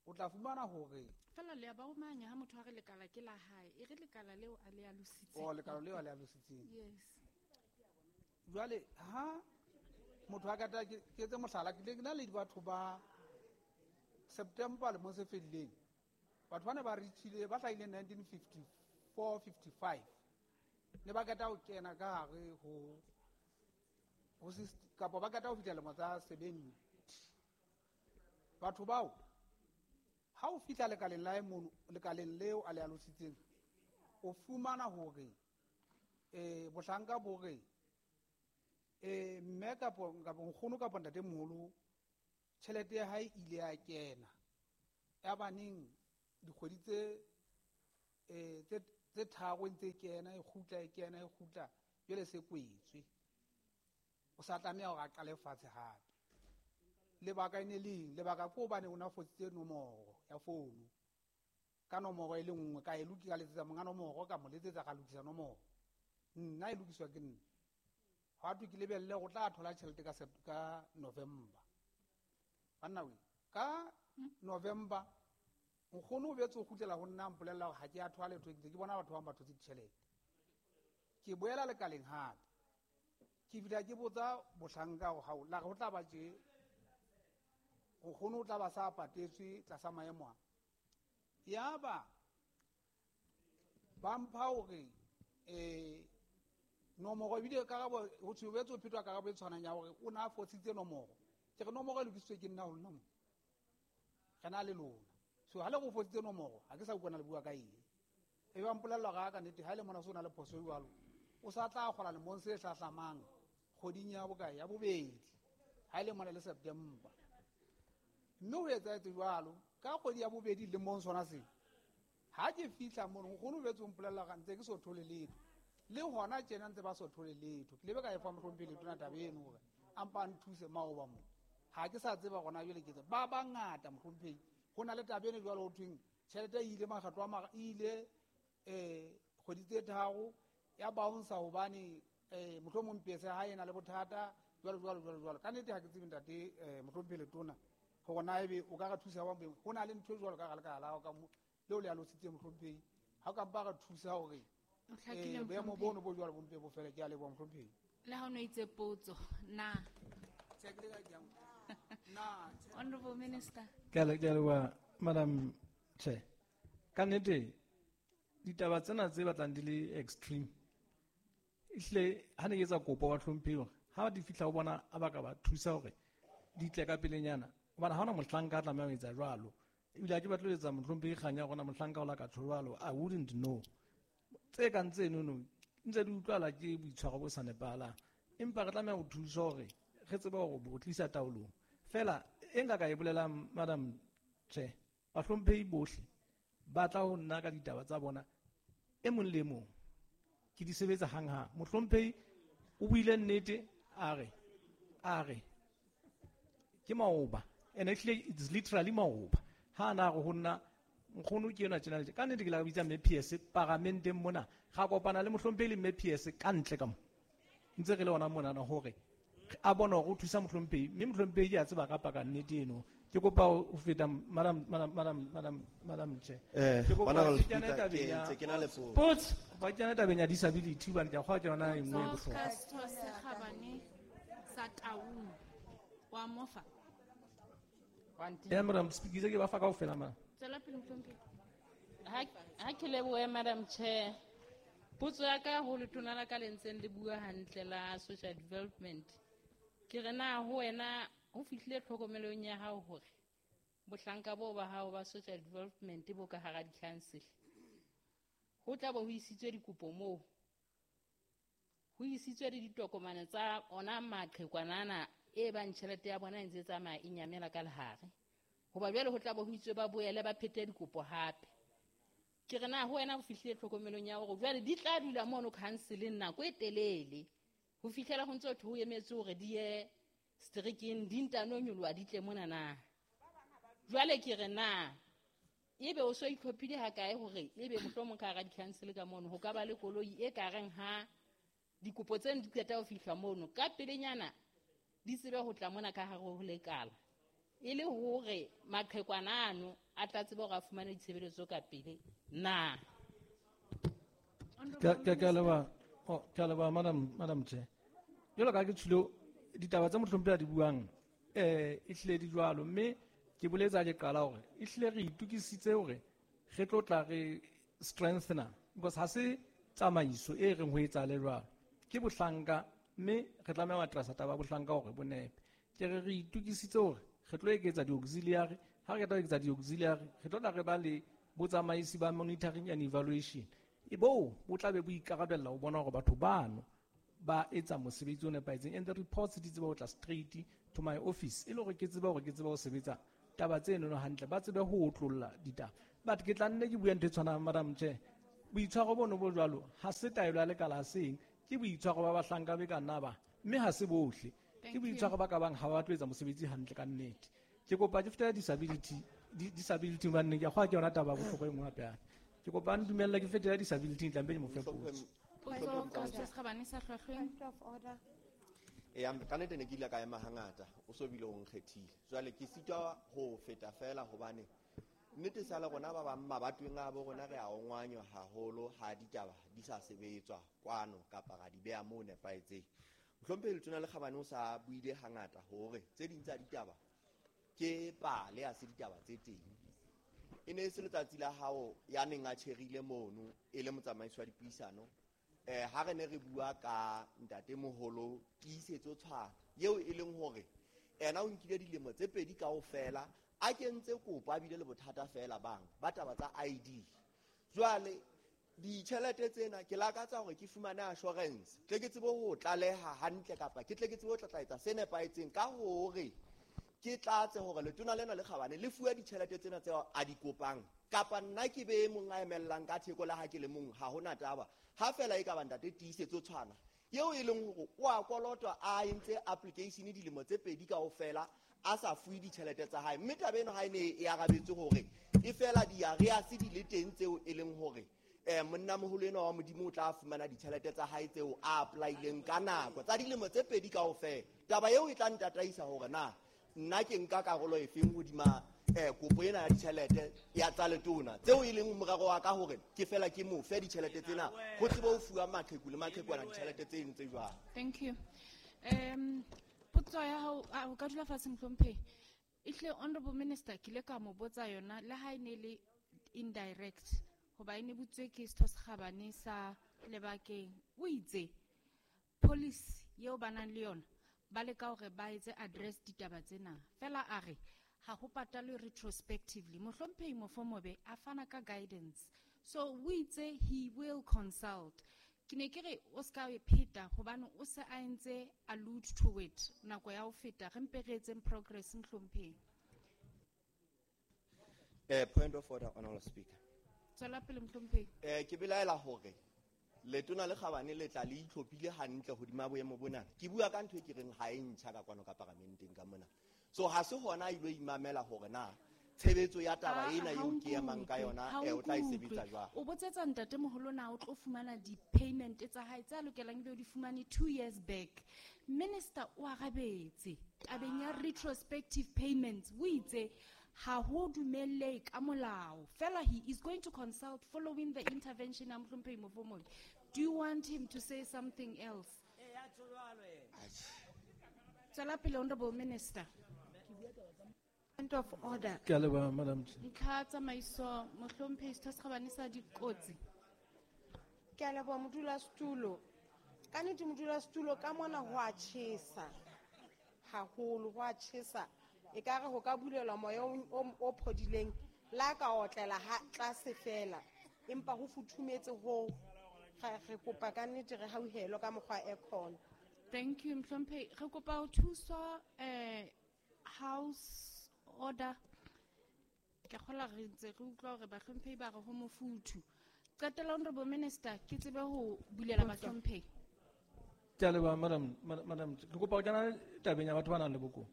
o tla fumana hore Fela le a ba omanya ha motho a re lekala ke la hae, e re lekala leo a le alositseng. Oh, lekala leo a le alositseng. Yes. Jwale ha motho a qeta, ke, ke etse mohlala, ke ile ke na le batho ba September lemong se fedileng, batho ba ne ba reachile, ba hlahile nineteen fifty-four, fifty-five, ne ba qeta ho kena ka hare ho, ho syst-, kapa ba qeta ho fihla lemo tsa seventy. Batho bao, ha o fihla lekaleng la hae mono, lekaleng leo a le alositseng, o fumana hore, eh, bohlanka bo re, eh, mme kapo, kapo nkgono kapo ntatemoholo, tjhelete ya hae ile ya kena. Ya baneng dikgwedi tse, eh, tse, tse tharo e ntse e kena, e kgutla, e kena, e kgutla, jwale se kwetswe. O sa tlameha hore a qale fatshe hape. Lebaka e ne leng, lebaka ke hobane o na fositse nomoro ya founu. Ka nomoro e le nngwe ka e lokisa, ka letsetsa monga nomoro, ka mo letsetsa ka lokisa nomoro. Nna e lokiswa ke nna. Hwa thwe ke lebelle go tla thola tjhelete ka Sep-, ka November. Banna we, ka November nkgono o boetse o kgutlela ho nna a mpolella hore ha ke a thola letho, ke ntse ke bona batho ba bang ba thotse ditjhelete. Ke boela lekaleng hape. Ke fihla ke botsa mohlanka hore hao, la re ho tla ba tje, nkgono o tla ba sa patetswe tlasa maemo a. Yaba ba mpha hore, eh, nomoro ebile karabo, ho thwe o boetse o phetwa karabo e tshwanang ya hore o na fositse nomoro. Ke re nomoro e lokisitswe ke nna ho lona mo. Re na le lona. So ha le go fositse nomoro, ha ke sa utlwana le bua ka eng. E ba mpolella hore ha ka nnete, ha e le mona so na le phoso e jwalo, o sa tla kgola lemong se hlahlamang kgweding ya bokae, ya bobedi, ha e le mona le September. Mme ho etsahetse jwalo ka kgwedi ya bobedi lemong sona seo. Ha ke fihla mono, nkgono o boetse o mpolella hore ntse ke so thole letho. Le hona tjena ntse ba so thole letho. Ke lebe ka e fa mohlomphehi Letona taba eno hore a mpa a nthuse maoba mo. Ha ke sa tseba hona jwale ke tse. Ba bangata mohlomphehi. Ho na le taba eno jwalo ho thweng tjhelete e ile makgetlo a mara, e ile, eh, kgwedi tse tharo ya bounce hobane, eh, mohlomong pese ha e na le bothata jwalo, jwalo, jwalo, jwalo. Ka nnete ha ke tsebe ntate, eh, mohlomphehi Letona hore na ebe o ka re thusa jwang boemong. Ho na le ntho e jwalo ka hara lekala la hao ka mo, leo le alositseng mohlomphehi. Ha o ka mpa re thusa hore, O hlakile, eh, boemo mohlomphehi. bono bo jwalo bo mpe bo fele. Ke a leboha mohlomphehi. Le ha o no itse potso, na? Tjhe, ke le ka ke a utlwa. Na, tjhe. Honorable Minister. Ke a le-, ke a leboha, Madam Chair. Ka nnete, ditaba tsena tse batlang di le extreme, ehlile ha ne ke etsa kopo ba hlomphehi hore ha di fihla ho bona a ba ka ba thusa hore di tle ka pelenyana, hobane ha hona mohlanka a tlamehang ho etsa jwalo. Ebile ha ke batle ho etsa mohlomphehi kganya ya rona mohlanka o la ka tjho jwalo, I wouldn't know. Tse kang tsenono ntse di utlwala ke boitshwaro bo sa nepahalang, empa re tlameha ho thusa hore re tsebe hore bo tlisa taolong. Feela e nka ka e bolelang, Madam Chair, bahlomphehi bohle ba tla ho nna ka ditaba tsa bona e mong le e mong, ke di sebetsa hanghang. Mohlomphehi o buile nnete, a re, a re ke maoba, and actually it's literally maoba. Ha na re ho nna nkgono ke enwa tjena le tje. Ka nnete ke la bitsa Mme P S paramenteng mona, ga kopana le mohlomphehi le Mme P S ka ntle ka mo, ntse re le hona monana hore a bone hore o thusa mohlomphehi, mme mohlomphehi ke a tseba ka paka nnete eno. Ke kopa ho feta, Madam, Madam, Madam, Madam, Madam Chair. Eh, Ke kopa Honorable ke kene Speaker, tabeng ke ya ntse ke na le potso. Potso. Ba kene tabeng ya disability hobane ke a kgolwa ke yona e nngwe e bohlokwa. Ka setho se kgabane sa Taung, wa mofa. Ya, Madam Speaker, ke ba fa kaofela, ma'am. Tswela pele, mohlomphehi. Ha, ha ke lebohe, Madam Chair. Potso ya ka ho letona la ka le ntseng le bua hantle la social development. Ke re na ho wena ho fihlile tlhokomelong ya hao hore bohlanka boo ba hao ba social development bo ka hara di-council. Ho tla bo ho isitswe dikopo moo. Ho isitswe le ditokomane tsa ona maqhekwanana e bang tjhelete ya bona e ntse e tsamaya e nyamela ka lehare. Hoba jwale ho tla bo ho itswe ba boele ba phete dikopo hape. Ke re na ho wena ho fihlile tlhokomelong ya hore jwale di tla dula mono council-eng nako e telele ho fihlela ho ntso thwe ho emetse hore di ye strikeng, di ntano nyoloha di tle mona na. Jwale ke re na ebe o so itlhophile ha kae hore ebe mohlomong ka hara di-council ka mono ho ka ba le koloi e ka reng ha dikopo tseno di qeta ho fihla mono ka pelenyana di tsebe ho tla mona ka hare ho lekala, e le hore maqhekwana ano a tla tsebe hore a fumane ditshebeletso ka pele na. Ke, ke, ke a leboha, oh, ke a leboha, Madam, Madam Chair. Jwalo ka ha ke tshwile ditaba tse mohlomphehi a di buang, eh, ehlile di jwalo, mme ke boletse ha ke qala hore ehlile re itokisitse hore re tlo tla re strengthena, because ha se tsamaiso e reng ho etsahale jwalo, ke bohlanka, mme re tlameha ho addressa taba ya bohlanka hore bo nepe. Ke re re itokisitse hore re tlo eketsa di-auxiliary, ha re qeta ho eketsa di-auxiliary re tlo tla re ba le botsamaisi ba monitoring and evaluation, e boo bo tla be bo ikarabella ho bona hore batho bano ba etsa mosebetsi o nepahetseng, and the reports di tsebe ho tla straight to my office, e le hore ke tsebe hore ke tsebe ho sebetsa taba tsenono hantle, ba tsebe ho otlolla ditaba. But ke tla nne ke bue ntho e tshwanang, Madam Chair, boitshwaro bono bo jwalo ha se taelo ya lekala seng, ke boitshwaro ba bahlanka be ka nna ba, mme ha se bohle. Ke boitshwaro ba ka bang ha ba tlo etsa mosebetsi hantle ka nnete. Ke kopa ke fetela disability, disability hobane ke a kgolwa ke yona taba ya bohlokwa e nngwe hape hape. Ke kopa a ntumelle ke fetela disability tlambe ke mo fe potso. Potso ka Setho se Kgabane sa Hlwahlweng. Point of order. Eya, ka nnete ne ke ile ka ema hangata, o so bile o nkgethile. Jwale ke sitwa ho feta fela hobane nnete sa le rona ba bang mabatoweng a bo rona re a ongwanywa haholo ha ditaba di sa sebetswa kwano kapa ra di beha moo nepahetseng. Mohlomphehi Letona le Kgabane o sa buile hangata hore tse ding tsa ditaba ke pale, ha se ditaba tse teng. E ne e se letsatsi la hao ya neng a tjherile mono e le motsamaisi wa dipuisano. Eh, ha re ne re bua ka ntatemoholo Tiisetso Tshwana eo e leng hore ena o nkile dilemo tse pedi kaofela a kentse kopo a bile le bothata fela bang ba taba tsa I D. Jwale ditjhelete tsena ke lakatsa hore ke fumane assurance tle ke tsebe ho tlaleha hantle kapa ke tle ke tsebe ho tlatlaetsa se nepahetseng ka hore ke tlatse hore letona lena le Kgabane le fuwe ditjhelete tsena tseo a di kopang kapa nna ke be mong a emellang ka theko le ha ke le mong, ha hona taba. Ha fela e ka ba ntate Tiisetso Tshwana eo e leng hore o a kolotwa a entse application dilemo tse pedi kaofela a sa fuwe ditjhelete tsa hae, mme taba eno ha e ne e arabetse hore e fela di-arrears di le teng tseo e leng hore eh monnamoholo enwa wa Modimo o tla fumana ditjhelete tsa hae tseo a apply-ileng ka nako tsa dilemo tse pedi kaofela. Taba eo e tla ntataisa hore na nna ke nka karolo efeng hodima eh kopo ena ya ditjhelete ya tsa letona tseo e leng morero wa ka hore ke fela ke mo fe ditjhelete tsena ho tsebe ho fuwa maqheku le maqhekwana ditjhelete tse ntse jwang. Thank you. Um potso ya hao, a o ka dula fatshe mohlomphehi. Ehlile honorable minister ke ile ka mo botsa yona le ha e ne le indirect hoba e ne butswe ke Setho se Kgabane sa Lebakeng. O itse policy eo ba nang le yona ba leka hore ba etse address ditaba tsena. Fela a re ha ho patalwe retrospectively. Mohlomphehi Mofomobe a fana ka guidance. So o itse he will consult. Ke ne ke re o ska e pheta hobane o se a entse allude to it nako ya ho feta, re mpe re etseng progress mohlomphehi. Eh, point of order, Honorable Speaker. Tswela pele mohlomphehi. Eh, ke belaela hore letona le Kgabane le tla le itlhophile hantle hodima boemo bona. Ke bua ka ntho e ke reng ha e ntjha ka kwano ka paramenteng ka mona. So ha se hona a ilo imamela hore na tshebetso ya taba Ah, ena ha eo o ke emang ka nkutlwe, yona, ha o eh, o tla e nkutlwe. sebetsa jwang. O botsetsa ntatemoholo na o tlo fumana di-payment tsa hae tse a lokelang ebe o di fumane two years back. Minister o arabetse tabeng ya retrospective payments, o itse ha ho dumelle ka molao. Fela he is going to consult following the intervention ya mohlomphehi Mofomobe. Do you want him to say something else? Tswela pele, Honorable Minister. Point of order. Ke a leboha, Madam Chair. Ntlha tsamaiso, mohlomphehi Setho se Kgabane sa Dikotsi. Ke a leboha, modulasetulo. Ka nnete modulasetulo, ka mona ho a tjhesa haholo, ho a tjhesa. Ekare ho ka bulelwa moya o, o, o phodileng, la ka otlela ha tlase fela, empa ho futhumetse ho. Re, re kopa ka nnete re hauhelwe ka mokgwa aircon. Thank you, mohlomphehi. Re kopa ho thuswa, eh, house order. Ke kgolwa re ntse re utlwa hore bahlomphehi ba re ho mofuthu. Qetela, Honorable Minister, ke tsebe ho bulela bahlomphehi. Ke a leboha, Madam, Madam, Madam, ke kopa ho kena tabeng ya batho ba nang le bokowa.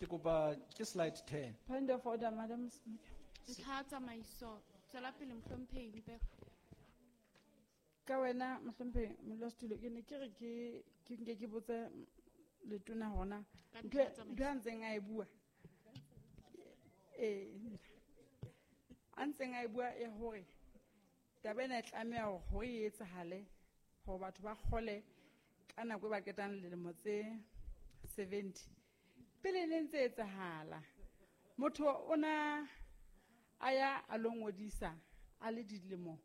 Ke kopa ke slide ten. Point of order, Madam Speaker. Ntlha tsamaiso, tswela pele mohlomphehi Mpe. Ka wena mohlomphehi modulasetulo, ke ne ke re ke, ke nke ke botse letona hona. Ka Ntho e, ntlha tsamaiso. ntho a ntseng a e bua. Eh, a ntseng a e bua ya hore taba ena e tlameha hore hore e etsahale hore batho ba kgole ka nako e ba qetang dilemo tse seventy. Pele ne ntse etsahala, motho o na a ya a lo ngodisa a le dilemo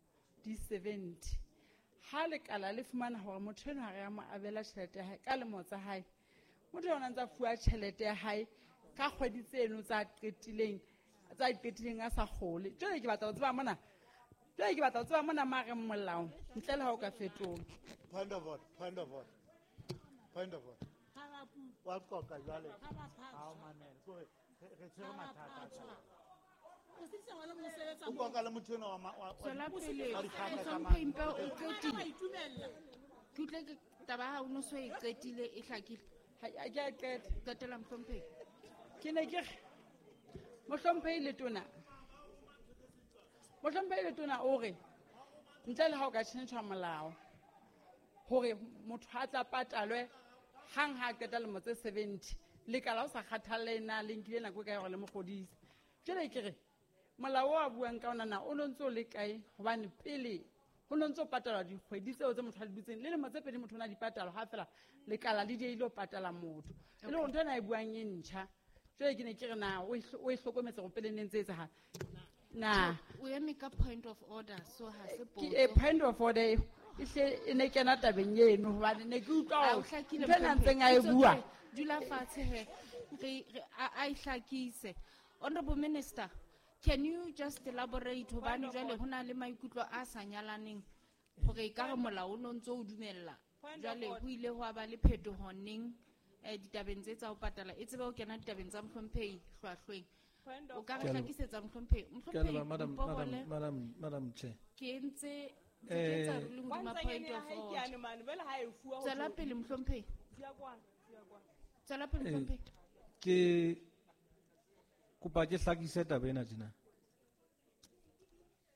di seventy. Ha lekala le fumana hore motho enwa ha re a mo abela tjhelete ya hae ka lemo tsa hae, motho ena o ntsa fuwa tjhelete ya hae ka kgwedi tseno tsa qetileng, tsa qetileng a sa kgole. Jwale ke batla ho tseba mona, jwale ke batla ho tseba mona mare molao ntle le ha o ka fetola. Point of order, point of order, point of order. Wa qoqa jwale. Ha o mamele. Ke hore re, re tshwere mathata a tshwanang. O qoqa le motho enwa wa ma-, wa-, wa Tswela di-, pele. wa dikgaka tsa Mohlomphehi mane. Mpe o qetile. Ke utlwe ke taba ya hao o no so e qetile e hlakile. Ha ke a qeta. Qetela mohlomphehi. Ke ne ke re mohlomphehi letona. Mohlomphehi letona o re ntle le ha o ka tjhentjha molao hore motho a tla patalwe hang ha qeta lemo tse seventy lekala o sa kgathalle na le nkile nako e kae hore le mo kgodise. Jwale ke re molao o a buang ka ona na o no ntso le kae hobane pele ho no ntso patalwa dikgwedi tseo tse motho a di dutseng le lemo tse pedi motho o na di patalwa ha fela lekala le diehile ho patala motho. E le hore ntho ena e buang e ntjha. Jwale ke ne ke re na o e hlokometse hore pele ne ntse etsahala. Na o eme ka point of order so ha se potso. Ke point of order e hle e ne kena tabeng eno hobane ne ke utlwa hore ntho ena ntseng a e bua. Dula fatshe he re a e hlakise. Honorable Minister, can you just elaborate hobane jwale ho na le maikutlo a sa nyalaneng hore e ka re molao o no ntso o dumella jwale ho ile ho ba le phetoho neng ditabeng tse tsa ho patala e tsebe ho kena ditabeng tsa mohlomphehi hlwahlweng. O ka re hlakisetsa mohlomphehi. Mohlomphehi Madam Madam Madam Madam Chair. Ke ntse ke etsa ruling hodima point of order. Tswela pele mohlomphehi. Tswela pele mohlomphehi. Ke kopa ke hlakise taba ena tjena.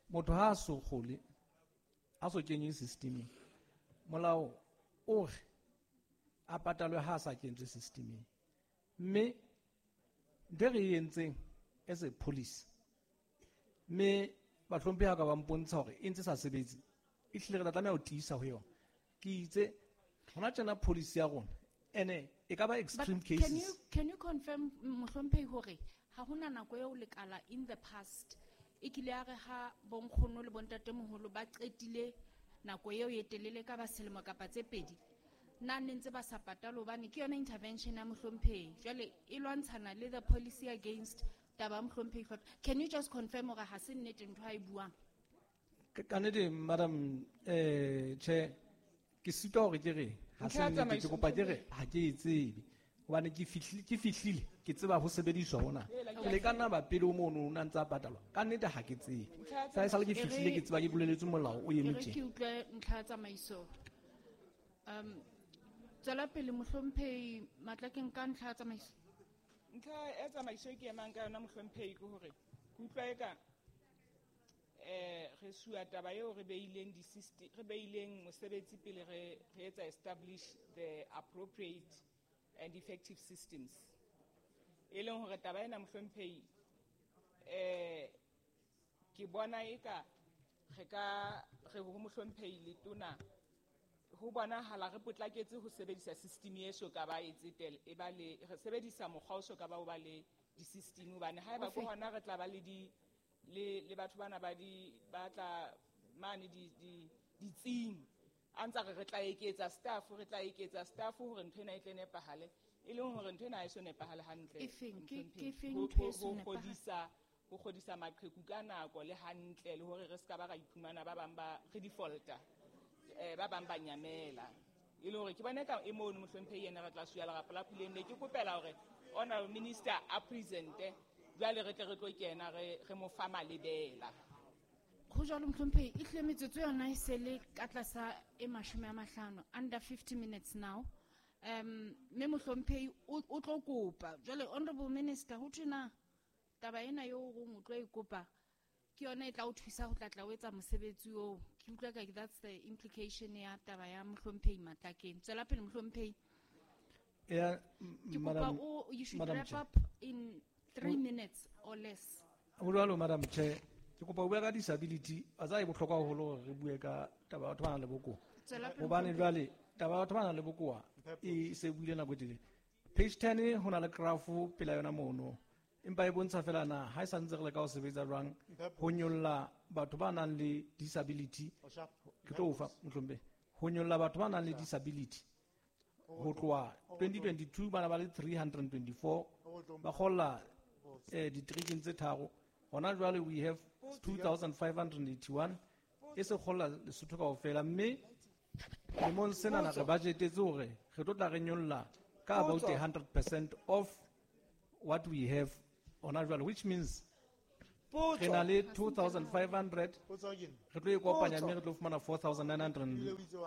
Motho ha a so kgole, a so kenye systemeng, molao o re a patalwe ha a sa kentswe systemeng. Mme ntho e re e entseng as a police, mme bahlomphehi ha ka ba mpontsha hore e ntse sa sebetse, e hlile re tla tlameha ho tiisa ho yona. Ke itse hona tjena policy ya rona ene e ka ba extreme But can cases. you, can you confirm mohlomphehi hore ha hona nako eo lekala in the past e kile ya re ha bonkgono le bontatemoholo ba qetile nako eo e telele ka ba selemo kapa tse pedi na ne ntse ba sa patale hobane ke yona intervention ya mohlomphehi jwale e lwantshana le the policy against taba ya mohlomphehi. Can you just confirm hore ha se nnete ntho a e buang? Ka nnete Madam eh Chair, ke sitwa hore ke re ha se nnete, ke kopa ke re ha ke e tsebe hobane ke fihlile, ke fihlile ke tseba ho sebediswa hona. Ke le ka nna ba pele o mono o na ntse a patalwa. Ka nnete ha ke tsebe. Sa e sale ke fihlile ke tseba ke boleletswe molao o eme E re tje. ke utlwe ntlha ya tsamaiso. Um, tswela pele mohlomphehi Matlakeng ka ntlha ya tsamaiso. Ntlha ya tsamaiso e ke emang ka yona mohlomphehi ke hore ke utlwa eka eh re sua taba eo re beileng di system, re beileng mosebetsi pele re, re etsa establish the appropriate and effective systems. E leng hore taba ena mohlomphehi eh ke bona eka re ka re ho mohlomphehi letona ho bonahala re potlaketse ho sebedisa system e so ka ba e tsetela e ba le re sebedisa mokgwa o so ka ba o ba le di-system hobane haeba ke hona re tla ba le di le le batho bana ba di ba tla mane di di ditsing a ntsa re re tla eketsa staff re tla eketsa staff hore ntho ena e tle nepahale e leng hore ntho ena ha e so nepahale hantle. E feng? Ke, ke feng Ho, ntho e ho, so ho nepahale? kgodisa, ho kgodisa maqheku ka nako le hantle le hore re ska ba ra iphumana ba bang ba re defaulta eh ba bang ba nyamela e le hore ke bone ka e mono mohlomphehi yena re tla suya lerapo la puleng ne ke kopela hore honorable minister a presente jwale re tle re tlo kena re, re mo fa malebela. Ho jwalo mohlomphehi e hlile metsotso yona e se le ka tlasa e mashome a mahlano, under fifty minutes now. Um, mme mohlomphehi o, o tlo kopa jwale honorable minister ho thwe na taba ena eo o reng o tlo e kopa ke yona e tla o thusa ho tla tla o etsa mosebetsi oo. Ke utlwa ka that's the implication ya taba ya mohlomphehi Matlakeng. Tswela pele mohlomphehi. Ya, Ke kopa Madam, o, you should Madam wrap Chair. up in three O- minutes or less. Ho jwalo Madam Chair, ke kopa ho bua ka disability, wa tseba e bohlokwa haholo hore re bue ka taba ya batho ba nang le bokowa. Tswela pele Hobane mohlomphehi. jwale taba ya batho ba nang le bokowa e se buile nako e telele. Page ten ho na le graph pela yona mono. Empa e bontsha fela na ha e sa ntse re leka ho sebetsa jwang ho nyolla batho ba nang le disability. Ke tlo o fa mohlomphehi. Ho nyolla batho ba nang le disability ho tloha twenty twenty-two bana ba le three hundred twenty-four ba kgolla eh diterekeng tse tharo. Hona jwale we have two thousand five hundred eighty-one e se kgolla Lesotho kaofela, mme lemong sena na re budgetetse hore re tlo tla re nyolla ka about a hundred percent of what we have hona jwale, which means re na le two thousand five hundred re tlo e kopanya mme re tlo fumana four thousand nine hundred.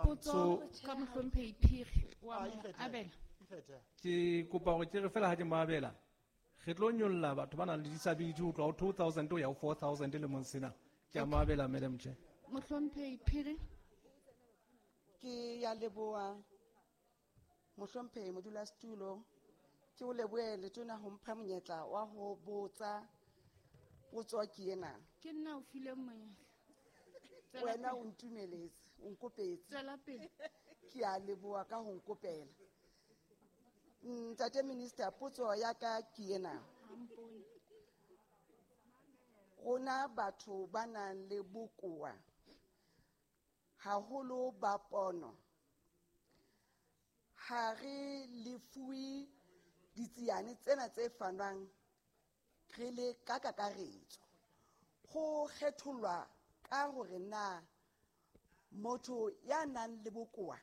Potso So ka mohlomphehi Phiri wa mo abela. Ke kopa hore ke re fela ha ke mo abela re tlo nyolla batho ba nang le disability ho tloha ho two thousand ho ya ho four thousand lemong sena. Ke a mo abela, Madam Chair. Mohlomphehi Phiri. Ke ya leboha mohlomphehi modulasetulo. Ke o lebohe letona ho mpha monyetla wa ho botsa potso ke ena. Ke nna o fileng monyetla. Tswela Wena pele. o ntumeletse, o nkopetse. Tswela pele. Ke a leboha ka ho nkopela. Ntate Minister, potso ya ka ke ena. Rona batho ba nang le bokowa haholo ba pono, ha re lefuwe ditsiane tsena tse fanwang re le ka kakaretso. Ho kgethollwa ka hore na motho ya nang le bokowa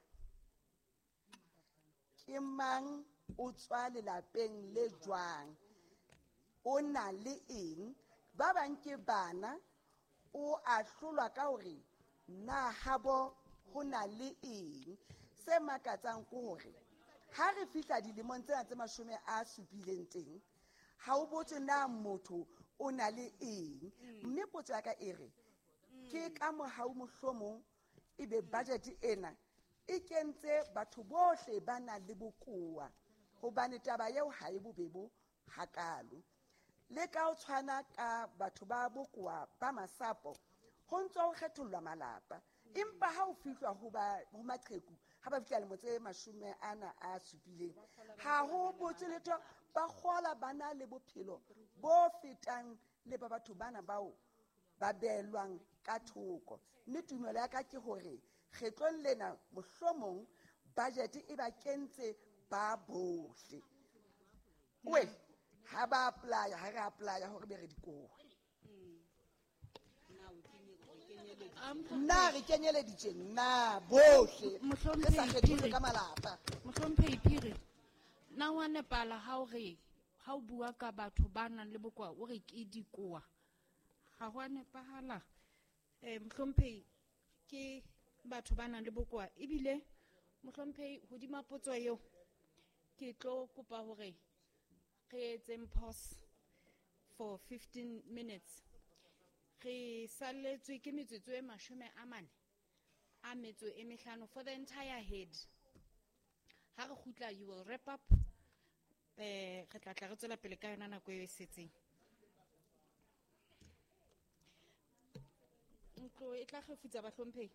ke mang, o tswa lelapeng le jwang, o na le eng. Ba bang ke bana, o ahlolwa ka hore na habo ho na le eng. Se makatsang ke hore ha re fihla dilemong tsena tse mashome a supileng teng, ha o botse na motho o na le eng. Mme potso ya ka e re, ke ka mohau mohlomong ebe budget ena e kentse batho bohle ba nang le bokowa, hobane taba eo ha e bobebo hakalo. Le ka ho tshwana ka batho ba bokowa ba masapo, ho ntso ho kgethollwa malapa. Empa ha o fihlwa ho ba, ho maqheku, ha ba fihla lemo tse mashome ana a supileng, ha ho botse letho, ba kgola ba na le bophelo bo fetang le ba batho bana bao ba beelwang ka thoko. Mme tumelo ya ka ke hore kgetlong lena mohlomong budget e ba kentse ba bohle. We, ha ba apply, ha re apply hore be re dikowe. Nna re kenyeleditse nna bohle. Re sa kgetholle ka malapa. Mohlomphehi Phiri, na wa nepala ha o re, ha o bua ka batho ba nang le bokowa, o re ke dikowa. Ha ho a nepahala. Eh, Mohlomphehi, ke batho ba nang le bokowa. Ebile, Mohlomphehi, hodima potso eo, ke tlo kopa hore re etseng pause for fifteen minutes. Re salletswe ke metsotso e mashome a mane a metso e mehlano for the entire head. Ha re kgutla, you will wrap up. Eh, re tla tla re tswela pele ka yona nako eo e setseng. Ntlo e tla kgefutsa bahlomphehi.